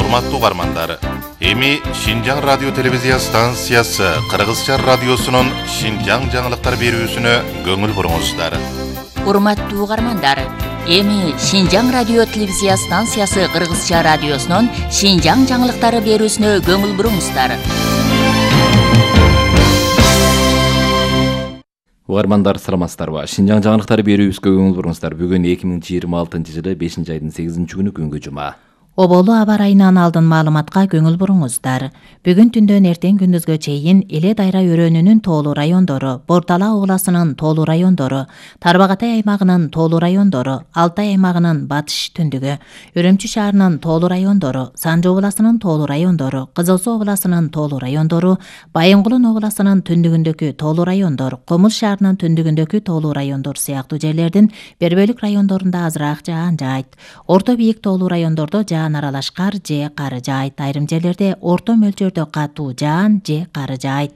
Урматтуу угармандар, эми Шинжаң радио телевизия станциясы Кыргызча радиосунун Шинжаң жаңылыктар берүүсүнө көңүл буруңуздар. Урматтуу угармандар, эми Шинжаң радио телевизия станциясы Кыргызча радиосунун Шинжаң жаңылыктары берүүсүнө көңүл буруңуздар. Угармандар, саламатсыздарбы? Шинжаң жаңылыктары берүүбүзгө көңүл буруңуздар. Бүгүн 2026 жылы 5-айдын 8-күнү күнгө жума. Оболу аба ырайынан алдын маалыматка көңүл буруңуздар. Бүгүн түндөн эртең күндүзгө чейин Эле Дайра өрөөнүнүн тоолуу райондору, Бордала областынын тоолуу райондору, Тарбагатай аймагынын тоолуу райондору, Алтай аймагынын батыш түндүгү, Үрүмчү шаарынын тоолуу райондору, Санжы областынын тоолуу райондору, Кызыл Суу областынын тоолуу райондору, Байынгулун областынын түндүгүндөгү тоолуу райондор, Комул шаарынын түндүгүндөгү тоолуу райондор сыяктуу жерлердин бербөлүк райондорунда азыраак жаан жаайт. Орто бийик тоолуу райондордо жаан аралаш кар же кары жаайт. Айрым жерлерде орто мөлчөрдө катуу жаан же кары жаайт.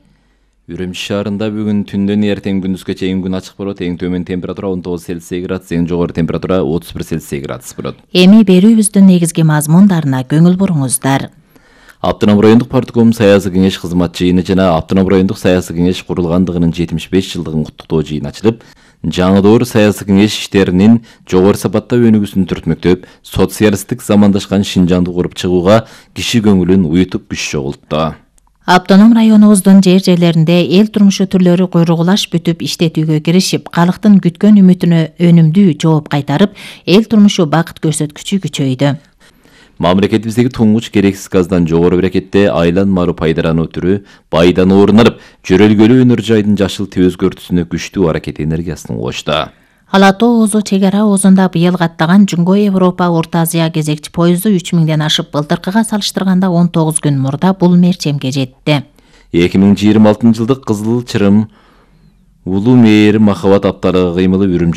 Үрүмчү шаарында бүгүн түндөн эртең күндүзгө чейин күн ачык болот. Эң төмөн температура 19 Цельсий градус, эң жогору температура 31 Цельсий градус болот. Эми берүүбүздүн негизги мазмундарына көңүл буруңуздар. Автоном райондук партком саясий кеңеш кызмат жыйыны жана Автоном райондук саясий кеңеш курулгандыгынын 75 жылдыгын куттуктоо жыйыны ачылып, жаңы саясий кеңеш иштеринин жогору сапатта өнүгүүсүн түртмөктөп, социалисттик замандашкан Шинжаңды куруп чыгууга киши көңүлүн уютуп күч чогултту. Автоном районубуздун жерлеринде эл турмушу түрлөрү куйругулаш бүтүп иштетүүгө киришип, калктын күткөн үмүтүнө өнүмдүү жооп кайтарып, эл турмушу бакыт көрсөткүчү күчөйдү. Мамлекетибиздеги туңгуч керексиз газдан жогору берекетте айланмалуу пайдарануу түрү байдан орунуп, жөрөлгөлүү өнөр жайдын жашыл өзгөртүүсүнө күчтүү аракет энергиясын кошту. Ала Тоо Оозу чек ара оозунда быйыл каттаган Жуңго Европа Орто Азия кезекчи поезду 3000ден ашып, былтыркыга салыштырганда 19 күн мурда бул мерчемге жетти. 2026 жылдык Кызыл Чырым Улуу Мээрим Махабат апталыгы кыймылы Үрүмчү